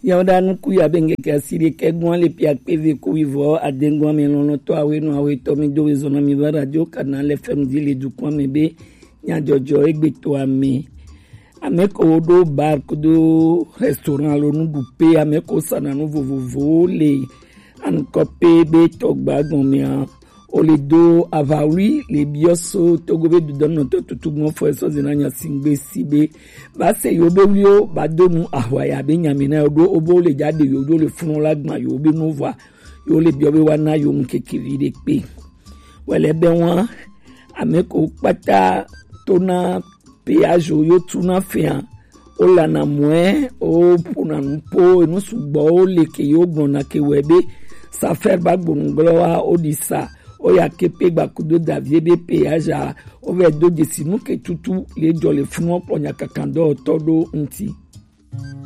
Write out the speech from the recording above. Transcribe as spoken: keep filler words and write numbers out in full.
Yawo ɖa nuku ya be ŋkeke asiɖekɛ gɔn le pia kpe ve ku wivɔ adengɔn mi lɔlɔtɔ awe nu awe tɔ mi do we zɔna mi va radio kana le fɛm di le dukɔn mi be nyadzɔdzɔ egbe to ame. Ame ko ɖo bar kudo restaurant lo nu ɖu pe ame ko sana nu vovovowo le anukɔ pe be tɔgba gɔn mea o le do aʋawli le biɔ so togo be dudɔnɔtɔ tutu gbɔn fɔ esɔ zena nya singbe si be ba se yo be wliwo ba do nu ahwa ya be nyami na yo ɖo o bo le ja de yo ɖo le funu la gban yo be nu vɔa yo le biɔ be wa na yo ŋkeke vi ɖe kpe. Wɛlɛ bɛ wa ame ko kpata to na péage yo tu na fɛa o la na mɔɛ o po na nu po enu sugbɔ o le ke yo gbɔn na ke wɛ be safɛr ba gbonu gblɔ wa o di sa o ya ke pe gba kudo davie be péage a o vɛ do dzesi nu ke tutu le jɔ le funu kpɔ nya kankan dɔ tɔ ɖo ŋti.